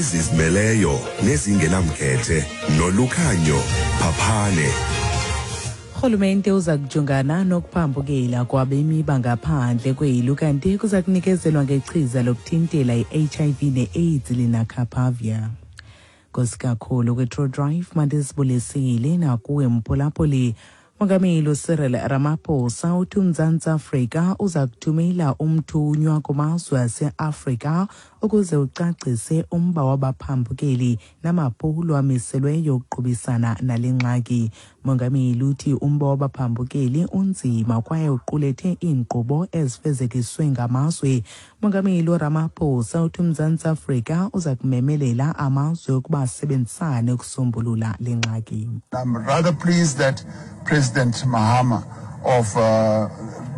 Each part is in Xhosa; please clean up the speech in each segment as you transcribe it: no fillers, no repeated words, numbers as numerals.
Ezizimeleyo nezingenamkhethe nolukhanyo phaphane. Urhulumente uza kujongana nokuphambukela kwabemi bangaphandle kweli kanti kuza kunikezelwa ngechiza lokuthintela i-HIV ne-AIDS linacapavir. Nkosi kakhulu kwi-True Drive mandizibulisile nakuwe mphulaphuli. Mongameli uCyril Ramaphosa uthi uMzantsi Afrika uza kuthumela umthunywa kumazwe aseAfrika ukuze ucacise umba wabaphambukeli namaphulo amiselweyo ukuqubisana nale ngxaki. Mongameli uthi umba wabaphambukeli unzima kwaye uqulethe iinkqubo ezifezekiswe ngamazwe. Mongameli uRamaphosa uthi uMzantsi Afrika uza kumemelela amazwe ukuba asebenzisane ukusombulula le ngxaki. I'm rather pleased that President Mahama of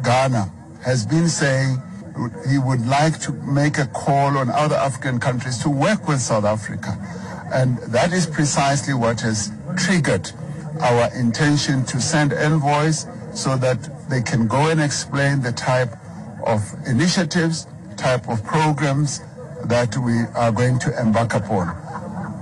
Ghana has been saying he would like to make a call on other African countries to work with South Africa. And that is precisely what has triggered our intention to send envoys so that they can go and explain the type of initiatives, type of programs that we are going to embark upon.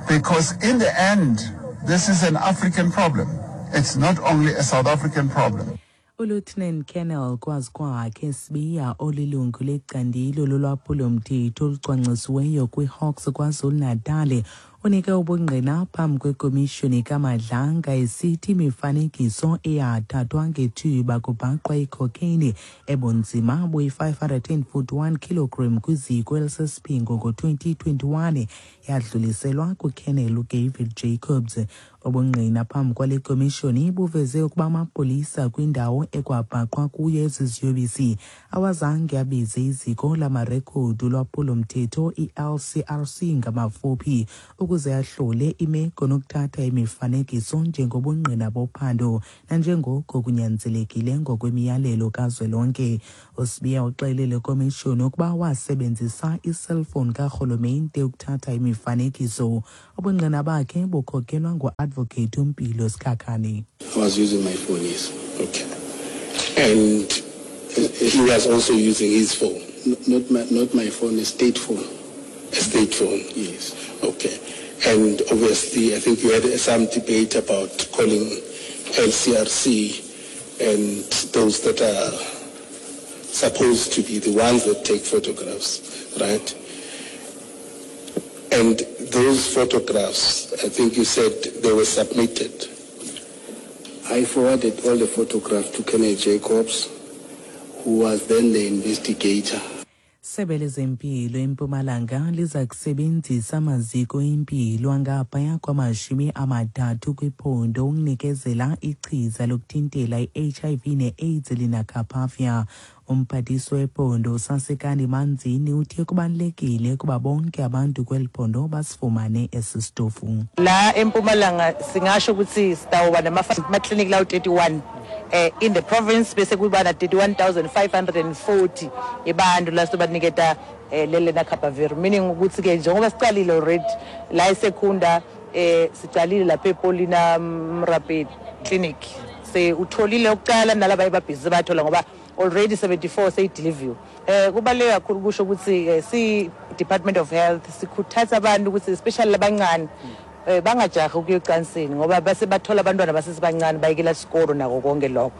Because in the end, this is an African problem. It's not only a South African problem. ULieutenant Colonel Kwazikwakhe Sibiya olilungu lecandelo lolwaphulo-mthetho olucwangcisiweyo kwiHawks KwaZulu-Natal unike ubungqina phambi kwekomishoni kaMadlanga esithi imifanekiso eyathathwa ngethuba kubhaqwa icocaine ebunzima buyi-541 kilogram kwiziko elisesiphingo ngo-2021 yadluliselwa kuColonel uDavid Jacobs. Ubungqina phambi kwale komishoni buveze ukuba amapolisa kwindawo ekwabhaqwa kuyo ezi ziyobisi awazange abize iziko lamarekhodi olwaphulo-mthetho i-LCRC ngamafuphi ukuze ahlole imeko nokuthatha imifanekiso njengobungqina bophando nanjengoko kunyanzelekile ngokwemiyalelo kazwelonke. USibiya uxelele komishoni ukuba wasebenzisa iselfowuni karhulumente ukuthatha imifanekiso. Ubungqina bakhe bukhokelwa ngu-advocate uMpilo Sikhakhane. I was using my phone, yes. Okay. And he was also using his phone? Not my phone, a state phone. A state phone? Yes. Okay. And obviously, I think you had some debate about calling LCRC and those that are supposed to be the ones that take photographs, right? And those photographs, I think you said they were submitted. I forwarded all the photographs to Kenneth Jacobs, who was then the investigator. Sebe lezempilo eMpumalanga liza kusebenzisa amaziko empilo angaphaya kwama-30 kwiphondo ukunikezela ichiza lokuthintela i-HIV ne-AIDS linacapavir. Umphathiswa wephondo uSasekani Manzini uthe kubalulekile ukuba bonke abantu kweli phondo basifumane esi sitofu. La eMpumalanga singasho ukuthi sitawuba namaklinikhi lawo 31 in the province bese kuba na 31,540 abantu la sizobaniketa lele lenacapavir, meaning ukuthi ke njengoba sicalile already la eSecunda, sicalile lapha ePaulina Mrape Clinic, se utholile ukuqala nalaba ebabhizi bathola ngoba already 74 seyideliver. Kubaluleke kakhulu kusho ukuthi si Department of Health sikhuthaza abantu ukuthi especially labancane bangajahi ukuya ecansini ngoba base bathola abantwana basesebancane bayekela isikolo nako konke lokho.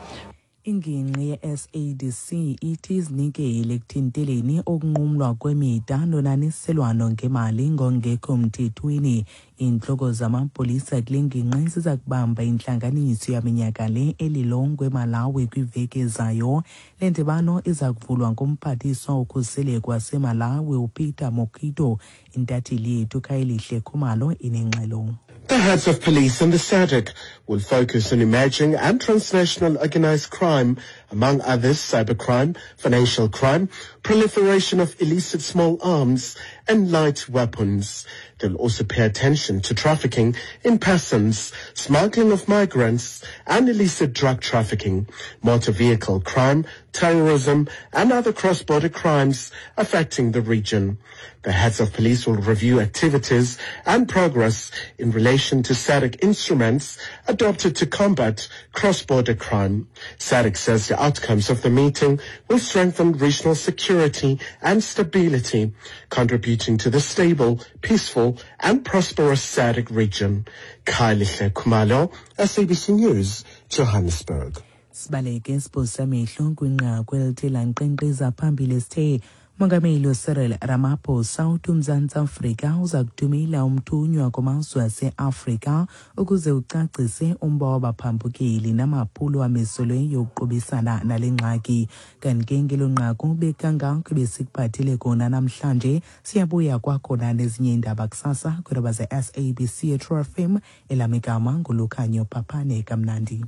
Ingingqi ye-SADC ithi izinikele ekuthinteleni ukunqumlwa kwemida nonaniselwano ngemali ngongekho mthethweni. Iintloko zamapolisa kule ngingqi ziza kubamba intlanganiso yaminyaka le eLilongwe eMalawi kwiveki ezayo. Le ndibano iza kuvulwa ngumphathiswa wokhuseleko waseMalawi uPeter Mukhito. Intatheli yethu Khayelihle Khumalo inengxelo. The heads of police and the SADC will focus on emerging and transnational organized crime, among others cybercrime, financial crime, proliferation of illicit small arms and light weapons. They'll also pay attention to trafficking in persons, smuggling of migrants and illicit drug trafficking, motor vehicle crime, terrorism and other cross-border crimes affecting the region. The heads of police will review activities and progress in relation to SADC instruments adopted to combat cross-border crime. SADC says the outcomes of the meeting will strengthen regional security and stability, contribute contributing to the stable, peaceful and prosperous SADC region. Khayelihle Khumalo, SABC News, Johannesburg. Sibaleke sibhosa amehlo kwinqaku elithe lankqenkqeza phambili sithe Mongameli uCyril Ramaphosa uthi uMzantsi Afrika uza kuthumela umthunywa kumazwe aseAfrika ukuze ucacise umba wabaphambukeli namaphulo amiselweyo ukuqubisana nale ngxaki. Kanti ke ngelo nqaku bekangako besikuphathele kona namhlanje. Siyabuya kwakhona nezinye iindaba kusasa kwiindaba ze-SABC True FM. Elam igama nguLukhanyo Phaphane. Kamnandi.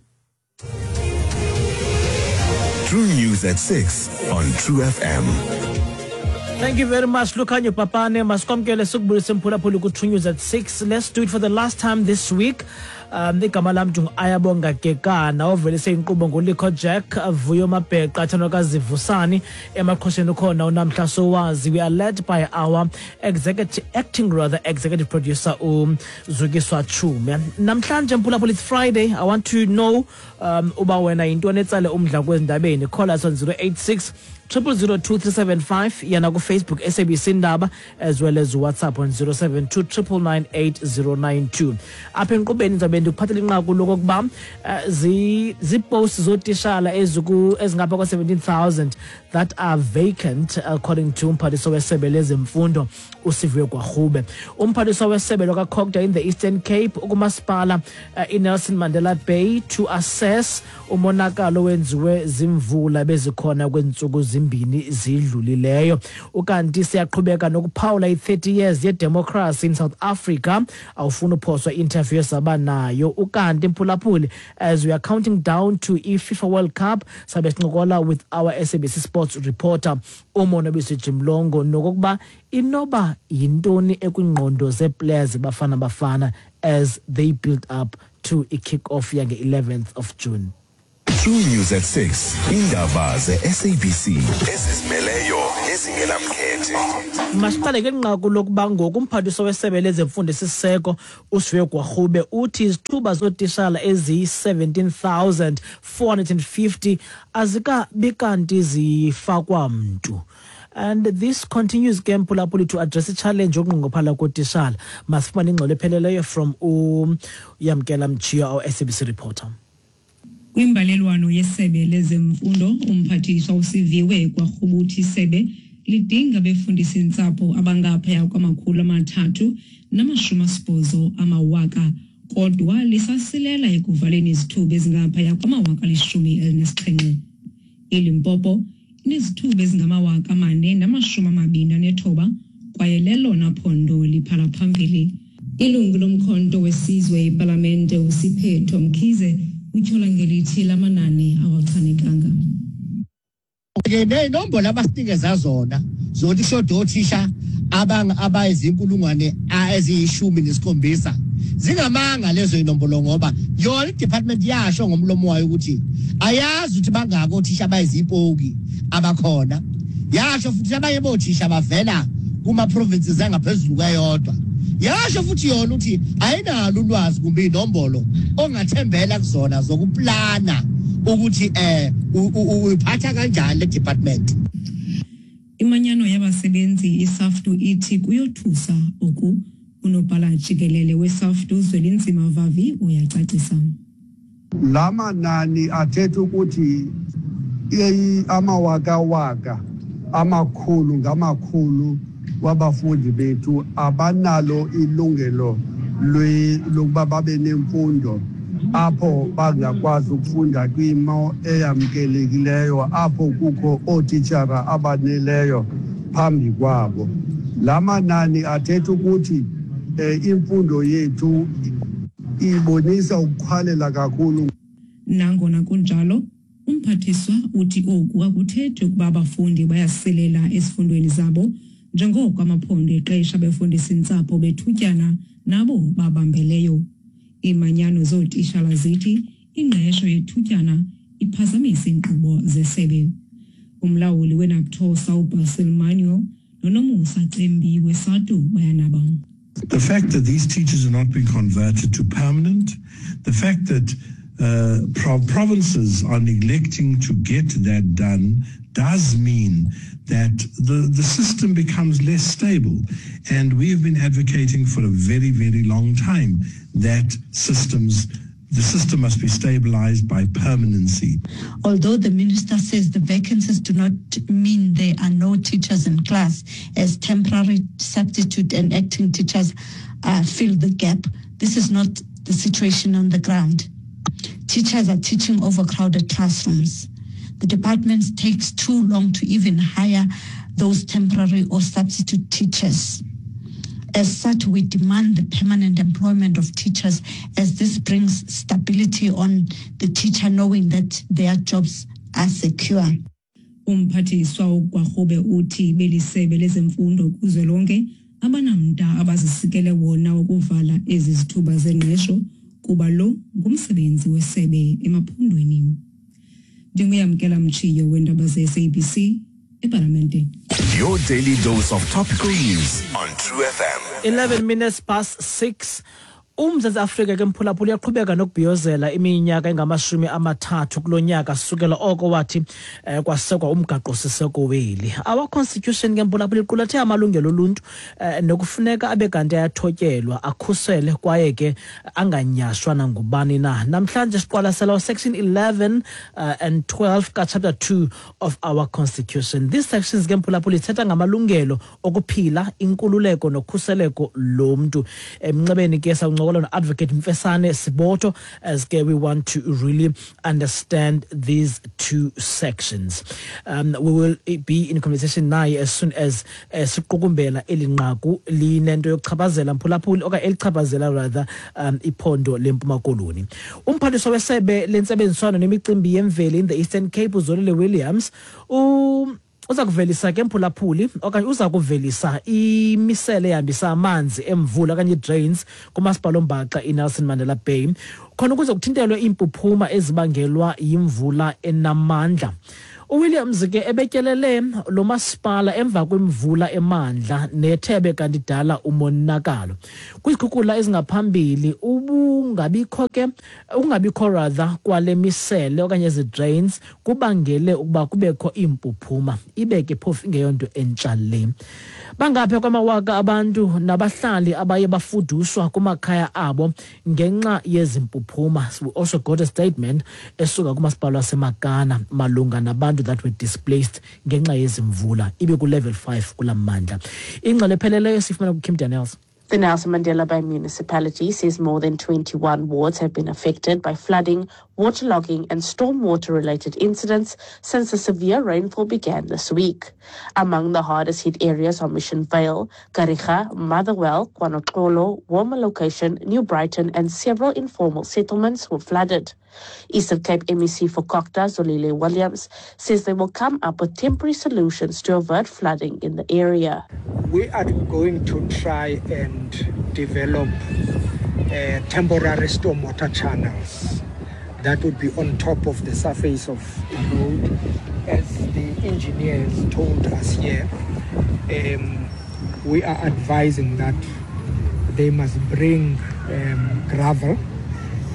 True News at 6 on True FM. Thank you very much, Lukhanyo Papane. Masikwamkele sikubulise mphulaphuli ku-True News at 6. Let's do it for the last time this week. Igama lam Ayabonga Kekana, ovelise inkqubo nguLikho Jack, Vuyo Mabheqa, Thandwakazi emaqhosheni ukhona uNamhla Sowazi. We are led by our executive, acting rather, executive producer uZukiswa Chume. Namhlanje mphulaphuli, it's Friday. I want to know uba wena yintoni etsale umdla kwezindabeni. Call us on 086 0002375, yana ku-Facebook SABC Ndaba, as well as WhatsApp on 072 9998092. Apha enkqubeni ndizabe ndikuphathela inqaku lokokuba ziipost zootishala ezingapha kwa-17,000 that are vacant according to umphathiswa wesebe lezemfundo uSiviwe Gwarube. Umphathiswa wesebe lwakaCogta in the Eastern Cape ukumasipala iNelson Mandela Bay to assess umonakalo wenziwe zimvula bezikhona kweentsuku zimbini zidlulileyo. Ukanti siyaqhubeka nokuphawula i-30 years yedemocracy in South Africa. Awufuna uphoswa interview esaba nayo. Ukanti mphulaphuli, as we are counting down to i-FIFA World Cup, sabe sincokola with our SABC Sports reporter uMonwabisi Jimlongo nokokuba inoba yintoni ekwingqondo zee-players Bafana Bafana as they build up to i-kick-off yange-11th of June. True News at 6. Indaba ze-SABC ezizimeleyo nezingenamkhethe. Masiqale ke nqaku lokuba ngoku umphathiswa wesebe lezemfundo esisiseko uSiviwe Gwarube uthi izithuba zootishala eziyi-17,450 azikabi kanti zifakwa mntu. And this continues ke mphulaphuli to address i-challenge yokunqongophala kootishala. Masifumane ingxelo epheleleyo from uYamkela Mchiyo, our SABC reporter. Kwimbalelwano yesebe lezemfundo, umphathiswa uSiviwe Gwarube uthi isebe lidinga abefundisi ntsapho abangaphaya kwama-380 amawaka, kodwa lisasilela ekuvaleni izithuba ezingaphaya kwama-17,000. ILimpopo inezithuba ezingama-4,029 kwaye lelona phondo liphala phambili. Ilungu lomkhonto wesizwe ipalamente uSiphetho Mkhize utyhola ngelithi lamanani awachanekanga. Ke ney'nombolo abasinikeza zona zokuthi kushoda othisha abayizinkulungwane eziyi-17 zingamanga lezo inombolo, ngoba yona i-department yasho ngomlomo wayo ukuthi ayazi ukuthi bangaki othisha abayizipoki abakhona. Yasho futhi abanye bothisha bavela kuma-provinces angaphezulu kweyodwa. Yasho futhi yona ukuthi ayinalo ulwazi kumbe inombolo ongathembela kuzona zokuplana ukuthi uyiphatha kanjani le department. Imanyano yabasebenzi iSAFTU ithi kuyothusa oku. Unobhala jikelele weSAFTU Zwelinzima Vavi uyacacisa. Lamanani athetha ukuthi amawakawaka amakhulu ngamakhulu wabafundi bethu abanalo ilungelo lokuba babe nemfundo apho bangakwazi ukufunda kwimo eyamkelekileyo, apho kukho ootitshala abaneleyo phambi kwabo. Lamanani athetha ukuthi imfundo yethu ibonisa ukuqhwalela kakhulu. Nangona kunjalo, umphathiswa uthi oku akuthethi ukuba abafundi bayasilela ezifundweni zabo, njengoko amaphondo eqesha abefundisi ntsapho bethutyana nabo babambeleyo. Iimanyano zootishala zithi ingqesho yethutyana iphazamisa iinkqubo zesebe. Umlawuli weNaptosa uBasil Manuel noNomusa Cembi weSADTU bayanaba. The fact that these teachers are not being converted to permanent, the fact that provinces are neglecting to get that done does mean that the system becomes less stable. And we have been advocating for a very, very long time that the system must be stabilized by permanency. Although the minister says the vacancies do not mean there are no teachers in class, as temporary substitute and acting teachers fill the gap, this is not the situation on the ground. Teachers are teaching overcrowded classrooms. The department takes too long to even hire those temporary or substitute teachers. As such, we demand the permanent employment of teachers, as this brings stability on the teacher knowing that their jobs are secure. Umphathiswa uGwarube uthi belisebe lezemfundo kuzwelonke abanamda abazisikele wona wokuvala ezi zithuba zengqesho kuba lo ngumsebenzi wesebe emaphondweni. Ndinguyamkela Mtshiyo weendaba ze-SABC epalamente. Your daily dose of topical news on True FM. 6:11. UMzantsi Afrika ke mphulaphula uyaqhubeka nokubhiyozela iminyaka engamashumi 30 kulo nyaka sukela oko wathi kwasekwa umgaqo-siseko weli. Our constitution ke mphulaphula iqulathe amalungelo oluntu nokufuneka abe kanti ayathotyelwa, akhusele kwaye ke anganyashwa nangubani na. Namhlanje siqwalasela section 11 and 12 ka-chapter 2 of our constitution. These sections ke mphulaphula ithetha ngamalungelo okuphila, inkululeko nokhuseleko lomntu. Emnxebeni ke sawuncokola no-Advocate Mfesane Siboto as ke we want to really understand these two sections. We will be in conversation naye as soon as siqukumbela eli nqaku linento yokuchaphazela mphulaphuli okanye elichaphazela rather iphondo leMpuma Koloni. Umphathiswa wesebe lentsebenziswano nemicimbi yemveli in the Eastern Cape, uZolile Williams, uza kuvelisa ke mphulaphuli okanye uza kuvelisa imisele ehambisa amanzi emvula okanye ii-drains kumasipala ombaxa iNelson Mandela Bay khona ukuze kuthintelwe iimpuphuma ezibangelwa yimvula enamandla. UWilliams ke ebetyelele lo masipala emva kwemvula emandla nethebe kanti idala umonakalo. Kwizikhukhula ezingaphambili ubungabikho ke ukungabikho rather kwale misele okanye ezi drains kubangele ukuba kubekho iimpuphuma, ibe ke phofu ingeyonto entsha le. Bangapha kwamawaka abantu nabahlali abaye bafuduswa kumakhaya abo ngenxa yezimpuphuma. We also got a statement esuka kumasipala waseMakana malunga nabantu that were displaced ngenxa yezimvula ibe ku-level 5 kula mmandla. Ingxelo epheleleyo sifumana kuKim Daniels. The Nelson Mandela Bay municipality says more than 21 wards have been affected by flooding, waterlogging and stormwater-related incidents since the severe rainfall began this week. Among the hardest hit areas are Mission Vale, Kariega, Motherwell, KwaNoxolo, Walmer Location, New Brighton and several informal settlements were flooded. Eastern Cape MEC for COGTA, Zolile Williams, says they will come up with temporary solutions to avert flooding in the area. We are going to try and develop temporary stormwater channels that would be on top of the surface of the road. As the engineers told us here, we are advising that they must bring gravel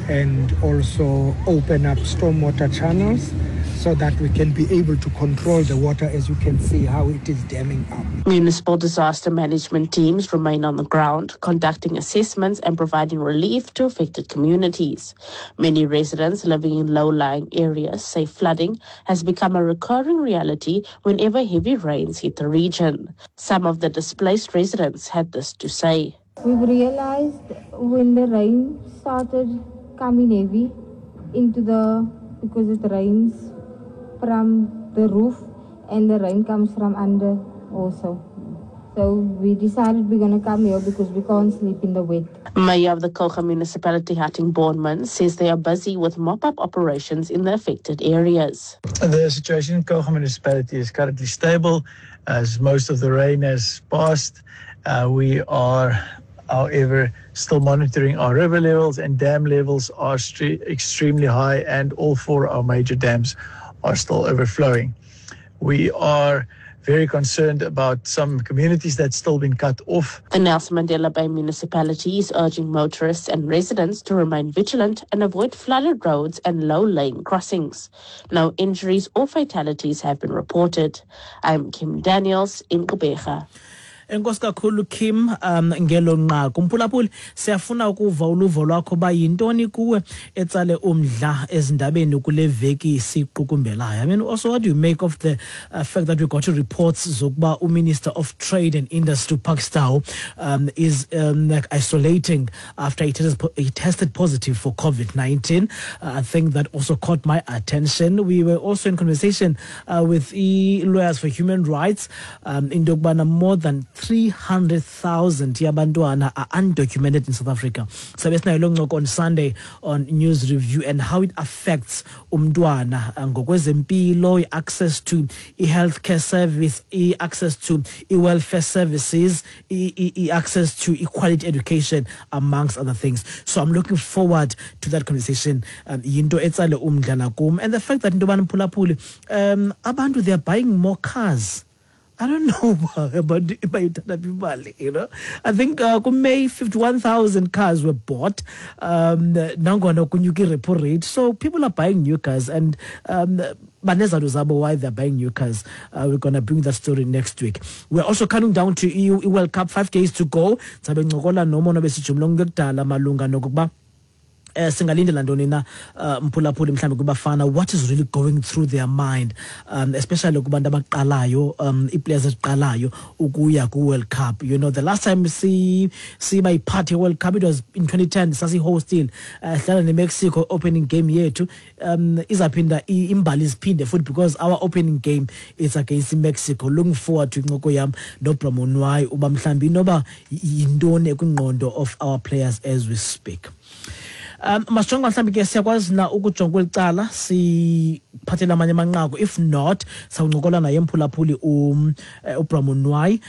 and also open up stormwater channels so that we can be able to control the water, as you can see how it is damming up. Municipal disaster management teams remain on the ground, conducting assessments and providing relief to affected communities. Many residents living in low-lying areas say flooding has become a recurring reality whenever heavy rains hit the region. Some of the displaced residents had this to say. We've realized when the rain started coming heavy into the, because it rains from the roof and the rain comes from under also. So we decided we're going to come here because we can't sleep in the wet. Mayor of the Kouga municipality, Hattingh Bornman, says they are busy with mop-up operations in the affected areas. The situation in Kouga municipality is currently stable as most of the rain has passed. We are, however, still monitoring our river levels, and dam levels are extremely high, and all four our major dams are still overflowing. We are very concerned about some communities that's still been cut off. The Nelson Mandela Bay municipality is urging motorists and residents to remain vigilant and avoid flooded roads and low-lying crossings. No injuries or fatalities have been reported. I'm Kim Daniels in Gqeberha. Enkosi kakhulu Kim ngelo nqaku. Mphulaphuli, siyafuna ukuva uluvo lwakho ba yintoni kuwe etsale umdla ezindabeni kule veki siqukumbelayo. I mean, also what do you make of the fact that we got reports zokuba uMinister of Trade and Industry Parks Tau is like isolating after he tested positive for COVID-19. I think that also caught my attention. We were also in conversation with e-lawyers for human rights in yokubana more than 300,000 yabantwana are undocumented in South Africa. Sabe sinayo loo ncoko on Sunday on News Review and how it affects umntwana ngokwezempilo, i-access to i-healthcare service, i-access to i-welfare services, i-access to equality education, amongst other things. So I'm looking forward to that conversation. Yinto etsale umdla nakum. And the fact that into yobana mphulaphuli, abantu, they are buying more cars. I don't know about imali. I think May 51,000 cars were bought. Nangona kunyuka i-repo rate. So people are buying new cars, and banezathu zabo why they're buying new cars. We're going to bring that story next week. We're also counting down to EU World Cup, 5 days to go. Sabe ncokola nomono besijumla ngekudala malunga nokuba singalindela ntoni na mphulaphuli mhlawumbi kubafana, what is really going through their mind, especially kubantu abaqalayo, ii-players eziqalayo ukuya ku-World Cup. The last time siba yi-part ye-World Cup, it was in 2010, sasi-hostile, sidlala ne-Mexico opening game yethu. Izaphinda imbali iziphinde futhi because our opening game is against Mexico. Looking forward to incoko yam noBra Monwai uba mhlawumbi inoba yintoni ekwingqondo of our players as we speak. Masijonge mhlawumbi ke siyakwazi na ukujonga kweli cala siphathele amanye amanqaku. If not, sawuncokola naye mphulaphuli uBra Monwai,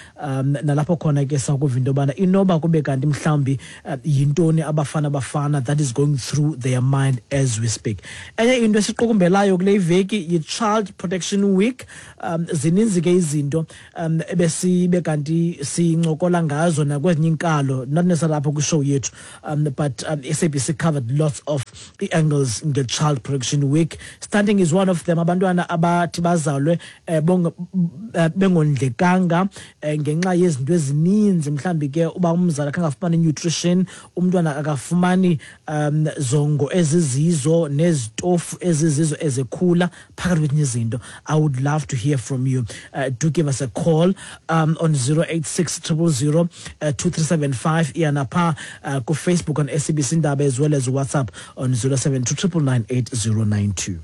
nalapho khona ke sawukuva into yobana inoba kube kanti mhlawumbi yintoni abafana bafana that is going through their mind as we speak. Enye into esiqukumbelayo kule iveki yi-Child Protection Week. Zininzi ke izinto ebesibe kanti sincokola ngazo nakwezinye iinkalo, not necessarily apha kwishow yethu, but SABC covered lots of angles in the Child Protection Week. Stunting is one of them. Abantwana abathi bazalwe bengondlekanga ngenxa yezinto ezininzi, mhlambi ke uba umzali akangafumani nutrition, umntwana akafumani zongo ezizizo nezitofu ezizizo ezekhula, phakathi kwezinye izinto. I would love to hear from you. Do give us a call on 086 000 2375, iyanapha ku Facebook on SABC Indaba, as well as WhatsApp on 072 999 8092.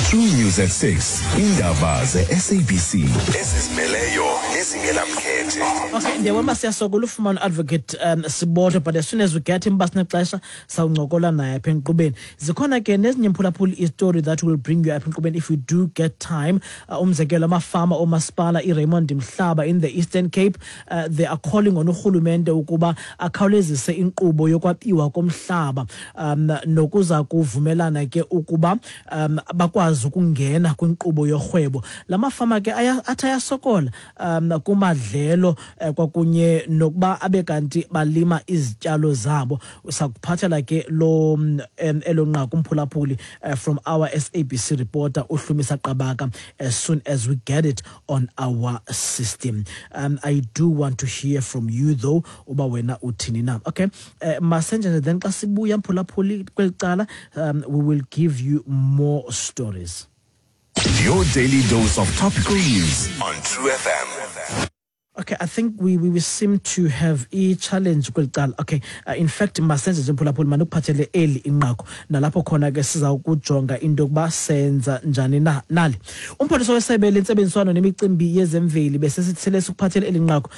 True News at 6. Indaba ze-SABC ezizimeleyo nezingenamkhethe. Okay, ndiyabona siyasokola ufumana Advocate Siboto, but as soon as we get him, basinexesha sawuncokola naye apha enkqubeni. Zikhona ke nezinye mphulaphuli istory that will bring you apha enkqubeni if we do get time. Umzekelo amafama omasipala iRaymond Mhlaba in the Eastern Cape, they are calling on urhulumente ukuba akhawulezise inkqubo yokwabiwa komhlaba, nokuza kuvumelana ke ukuba bakwazi ukungena kwinkqubo yorhwebo. La mafama ke athi ayasokola kumadlelo kwakunye nokuba abe kanti balima izityalo zabo. Sakuphathela ke lo elo nqaku umphulaphuli from our SABC reporter uHlumisa Qabaka as soon as we get it on our system. I do want to hear from you though, uba wena uthini na. Okay, masenje then xa sibuya mphulaphuli kweli cala, we will give you more stories. Your daily dose of topical news on True FM. Okay, I think we seem to have a challenge kweli cala. Okay, in fact masenze nje mphulaphuli manukuphathele eli inqaku nalapho khona ke siza ukujonga into yokuba senza njani na. Nali umphathiswa wesebe lentsebenziswano nemicimbi yezemveli besesithele sikuphathele eli nqaku,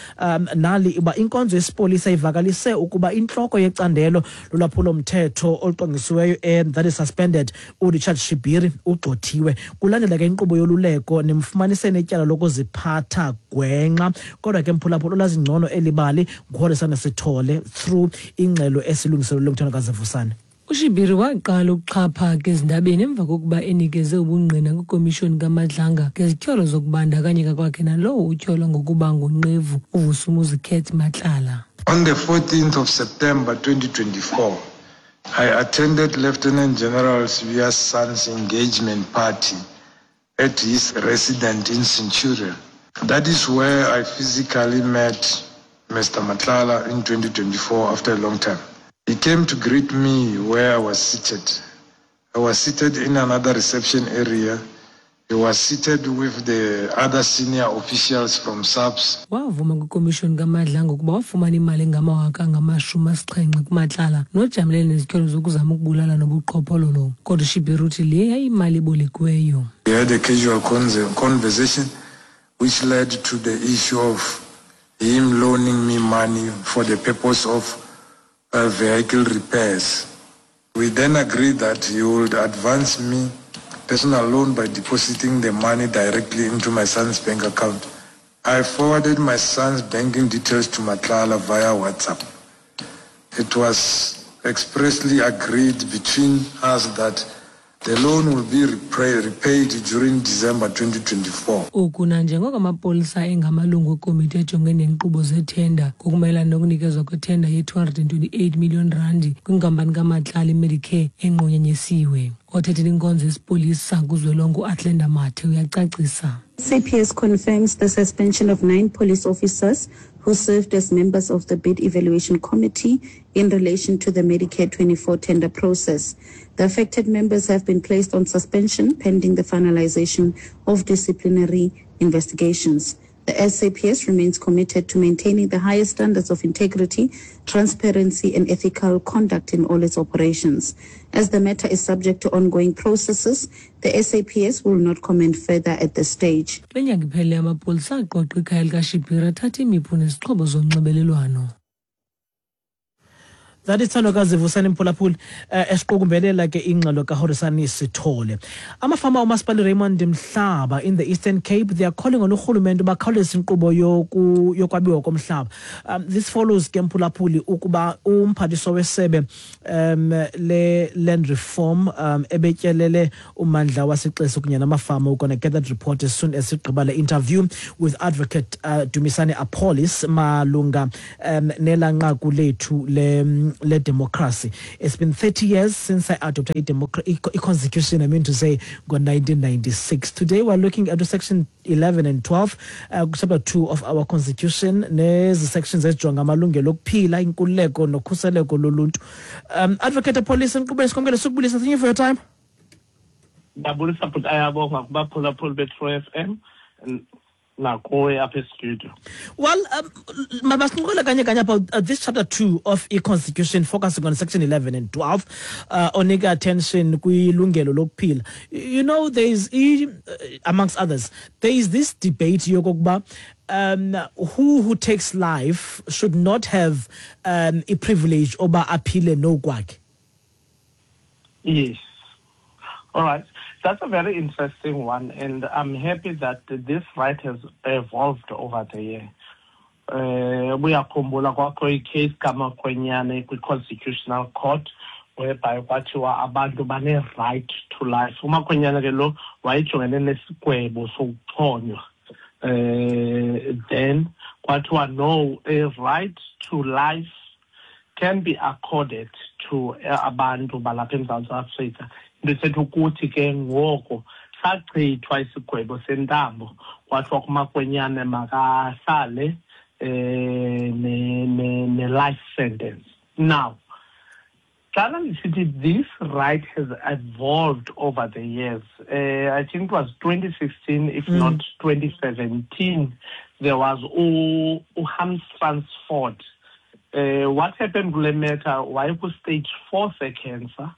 nali uba inkonzo yesipolisa ivakalise ukuba intloko yecandelo lolwaphulo mthetho olucwangcisiweyo, that is suspended, uRichard Shibiri ugxothiwe kulandela ke inkqubo yoluleko nemfumanise netyala lokuziphatha gwenxa. Kodwa ke mphulaphula olazi ngcono elibali nguHorisana Sithole through ingxelo esilungiselelwe nguThandakazi Vusane. UShibiri waqala ukuxhaphaka ezindabeni emva kokuba enikeze ubungqina kwikomishoni kaMadlanga ngezityholo zokubandakanyeka kwakhe nalowo utyholwa ngokuba ngunqevu uVusumuzi Cat Matlala. On the 14th of September 2024, I attended Lieutenant General Sibiya's son's engagement party at his residence in Centurion. That is where I physically met Mr. Matlala in 2024 after a long time. He came to greet me where I was seated. I was seated in another reception area. He was seated with the other senior officials from SAPS. Wavuma kwikomishoni kaMadlanga ukuba wafumana imali engamawaka angama-70 kuMatlala nojamelene nezityholo zokuzama ukubulala nobuqhophololo. Kodwa uShibiri uthi le yayimali ebolekiweyo. We had a casual conversation which led to the issue of him loaning me money for the purpose of vehicle repairs. We then agreed that he would advance me personal loan by depositing the money directly into my son's bank account. I forwarded my son's banking details to Matlala via WhatsApp. It was expressly agreed between us that the loan will be repaid during December 2024. Oku nanjengoko amapolisa engamalungu ekomiti ejongene neenkqubo zethenda ngokumayelana nokunikezwa kwethenda ye-228 million randi kwinkampani kaMatlala iMedicare enqunyanyisiwe. Othethela inkonzo yesipolisa kuzwelonke uAthlenda Mathe uyacacisa. SAPS confirms the suspension of 9 police officers who served as members of the bid evaluation committee in relation to the Medicare 24 tender process. The affected members have been placed on suspension pending the finalization of disciplinary investigations. The SAPS remains committed to maintaining the highest standards of integrity, transparency, and ethical conduct in all its operations. As the matter is subject to ongoing processes, the SAPS will not comment further at this stage. Kule nyanga iphelileyo amapolisa aqoqa ikhaya likaShibiri athatha imipu nezixhobo zonxibelelwano. That is Thandokazi Vusani Mphulaphuli, esiqukumbelela ke ingxelo kaHorisani Sithole. Amafama omasipala Raymond Mhlaba in the Eastern Cape, they are calling on urhulumente bakhawulezise inkqubo yokwabiwa komhlaba. This follows ke Mphulaphuli ukuba umphathiswa wesebe le land reform ebetyelele ummandla waseXesi kunye namafama. We're going to get that report as soon as sigqiba le interview with Advocate Dumisani Appollis malunga nela nqaku lethu le democracy. It's been 30 years since I adopted a constitution, I mean to say, 1996. Today we're looking at section 11 and 12, chapter 2 of our constitution. Nezi sections ezijonga amalungelo okuphila, inkululeko nokhuseleko loluntu. Advocate Appollis, nkqubeni sikwamkele sukubulisa. Thank you for your time. Ndiyabulisa bhuti, ayabonga kubaphulaphuli be-True FM nakuwe apha estudio. Well, masincokole kanye kanye about this chapter 2 of i-constitution, focusing on section 11 and 12, onika attention kwilungelo lokuphila. You know, there is, amongst others, there is this debate yokokuba who takes life should not have a privilege oba aphile nokwakhe. Yes. All right. That's a very interesting one, and I'm happy that this right has evolved over the year. Uyakhumbula kwakho i-case kaMakhwenyane kwi-Constitutional Court, whereby kwathiwa abantu bane-right to life. UMakhwenyane ke lo wayejongene nesigwebo sokuxhonywa. Then kwathiwa no, a right to life can be accorded to abantu balapha eMzantsi Afrika. Into ethetha ukuthi ke ngoko sachithwa isigwebo sentambo, kwathiwa kuMakhwenyane makahlale ne-life sentence. Now, xana ndisithi this right has evolved over the years, I think it was 2016, if not 2017, there was uHans Fransford. What happened kule matter, wayeku-stage 4 se-cancer,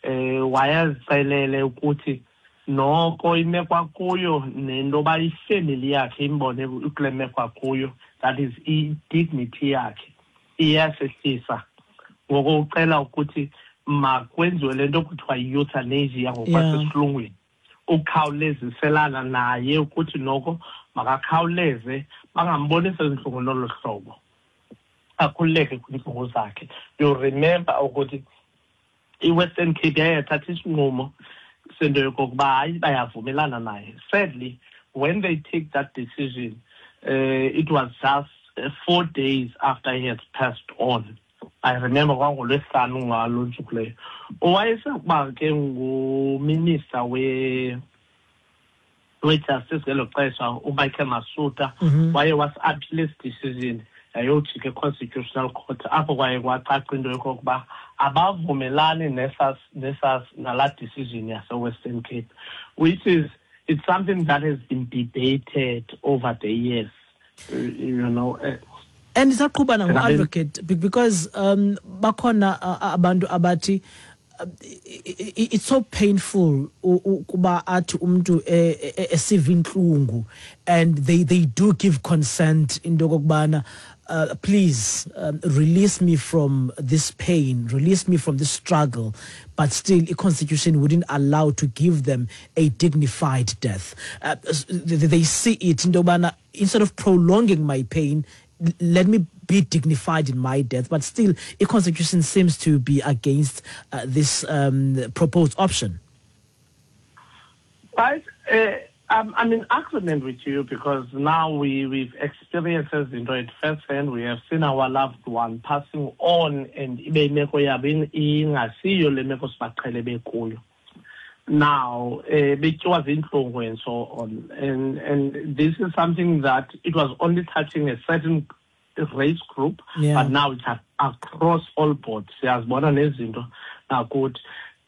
wayezicelele ukuthi noko imeko akuyo nento yoba ifemeli yakhe imbone kule meko akuyo, that is i-dignity yakhe iyasehlisa. Ngoko ucela ukuthi makwenziwe le nto kuthiwa yi-euthanasia ngokwasesilungwini, ukhawuleziselana naye ukuthi noko makakhawuleze bangambonisi ezintlungu nolo hlobo, akhululeke kwiintlungu zakhe. You remember ukuthi I-Western Cape yaye yathatha isinqumo sento yokokuba hayi, bayavumelana naye. Sadly, when they take that decision, it was just 4 days after he had passed on. I remember kwangolwesihlanu ngalo ntsuku leyo. Owayesakuba ke nguminister we-justice ngelo xesha, uMichael Masuta, waye wasi-appeal esi decision, yayojika e-Constitutional Court, apho kwaye kwacaca into yokokuba abavumelani nesas nalaa decision yase-Western Cape, which is, it's something that has been debated over the years. And isaqhubana ngo-advocate, because bakhona abantu abathi it's so painful ukuba athi umuntu esiva inhlungu, and they do give consent into okokubana, please release me from this pain, release me from this struggle, but still the constitution wouldn't allow to give them a dignified death. They see it into yobana instead of prolonging my pain, let me be dignified in my death. But still the constitution seems to be against this proposed option. Right. I'm in agreement with you because now we've experienced into it firsthand. We have seen our loved one passing on and ibe imeko yabo ingasiyo le meko sibaqhele bekuyo. Now, betyiwa zintlungu and so on. And this is something that it was only touching a certain race group, but now it's across all boards. Siyazibona nezinto nakuthi.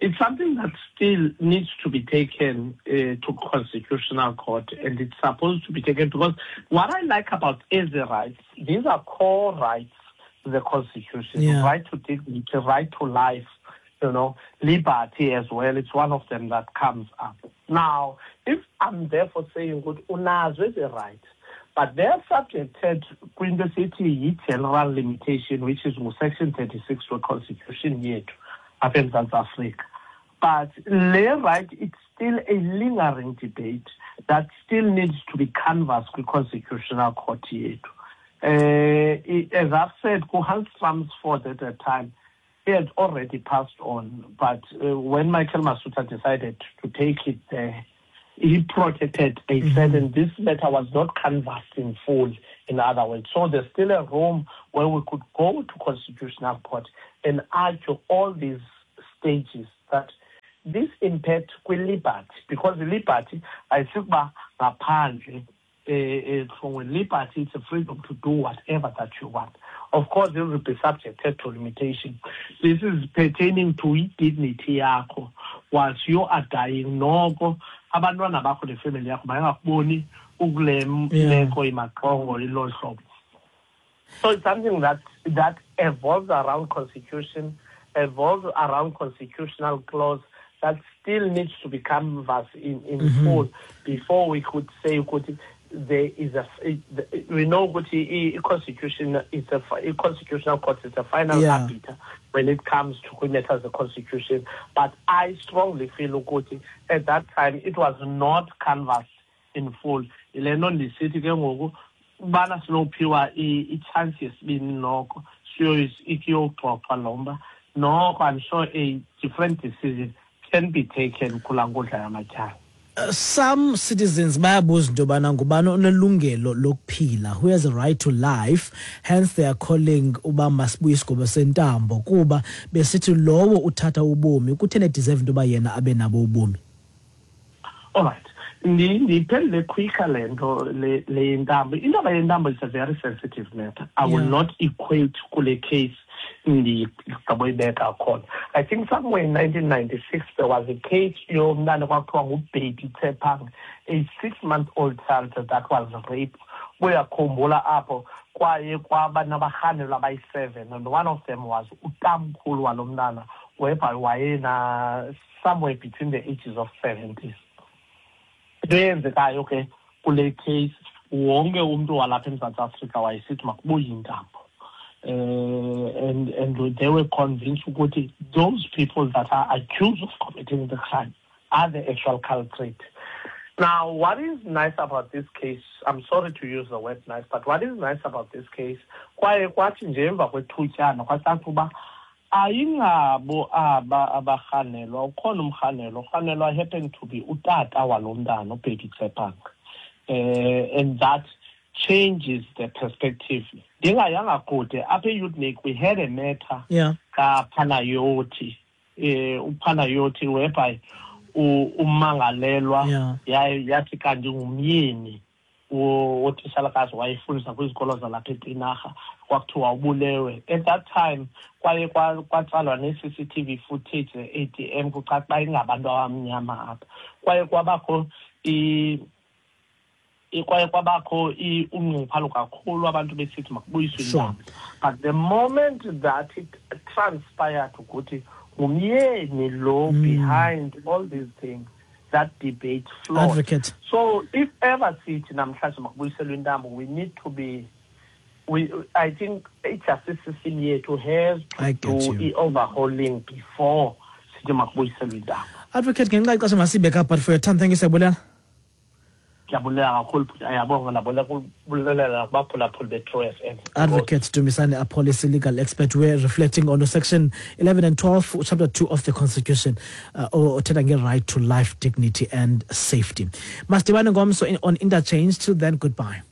It's something that still needs to be taken to Constitutional Court, and it's supposed to be taken because what I like about ezi rights, these are core rights to the Constitution, right to dignity, right to life, liberty as well. It's one of them that comes up. Now, if I'm therefore saying, good, unazo ezi right, but they're subjected kwinto esithi yi-general limitation, which is section 36 we-Constitution yethu apha eMzantsi Afrika. But le right, it's still a lingering debate that still needs to be canvassed kwi-Constitutional Court yethu. As I've said, kuHans Ford at that time, he had already passed on, but when Michael Masuta decided to take it there, he protected a certain, this matter was not canvassed in full, in other words. So there's still a room where we could go to Constitutional Court and argue all these stages that this impact kwi-liberty, because the liberty, ayisikuba ngaphandle from liberty, it's a freedom to do whatever that you want. Of course, it will be subjected to limitation. This is pertaining to dignity yakho. Whilst you are dying, noko abantwana bakho nefamily yakho bayangakuboni ukule meko imaxongo ilo hlobo. So it's something that evolves around constitution, evolves around constitutional clause that still needs to be canvassed in full before we could say ukuthi there is a, we know ukuthi i-constitution is a constitutional court is a final arbiter when it comes to matters the constitution. But I strongly feel ukuthi at that time it was not canvassed in full. Ile nto ndisithi ke ngoku ubana sinophiwa i-chance yesibini noko siyoxoxwa lo mba, noko I'm sure a different decision can be taken kulaa nkundla yamatyala. Some citizens bayabuza into yobana ngubani onelungelo lokuphila, who has a right to life. Hence they are calling uba masibuye isigwebo sentambo, kuba besithi lowo uthatha ubomi kutheni edeserve into yoba yena abe nabo ubomi. All right, ndiphendule quicker le nto le yentambo. Indaba yentambo is a very sensitive matter. I will not equate kule case ndigqiboyibeka khona. I think somewhere in 1996 there was a case yomntana kwakuthiwa nguBaby Tshepang, a 6-month old child that was raped. Uyakhumbula apho kwaye kwaba nabarhanelwa abayi-7, and one of them was utamkhulu walo mntana, whereby wayena somewhere between the ages of 70s. Into eyenzekayo ke kule case, wonke umntu walapha eMzantsi Afrika wayesithi makubuye intambo, and they were convinced ukuthi those people that are accused of committing the crime are the actual culprit. Now, what is nice about this case, I'm sorry to use the word nice, but what is nice about this case, kwaye kwathi nje emva kwethutyana kwacaca uba Ayingabo aba abarhanelwa, ukhona umrhanelwa, urhanelwa happened to be utata walo mntana uBheki Tsepang. And that changes the perspective. Ndingayanga kude, apha eUtnick we had a matter kaPanayoti, uPanayoti whereby ummangalelwa yathi kanti ngumyeni wotishalakazi wayefundisa kwizikolo zalapha eTinarha, kwakuthiwa ubulewe. At that time kwaye kwatsalwa ne-CCTV footage ze-ATM, kucaca uba ingabantu abamnyama apha. Kwaye kwabakho kwaye kwabakho unxunguphalo kakhulu, abantu besithi makubuyiswe intambo. But the moment that it transpired ukuthi ngumyeni lo behind all these things, that debate flawed. Advocate. So if ever sithi namhlanje makubuyiselwe intambo, we need to be, we, I think i-justice system yethu has to I get do you. i-overhauling before sithi makubuyiselwe intambo. Advocate, ngenxa yexesha masibeke apha, but for your time, thank you, siyabulela. Ndiyabulela kakhulu, bhuti. Ayabonga, nabulela kubaphulaphuli be-True FM. Advocate Dumisani Appollis, legal expert. We're reflecting on section 11 and 12, chapter 2 of the Constitution, othetha nge-right to life, dignity and safety. Masidibane ngomso on Interchange. Till then, goodbye.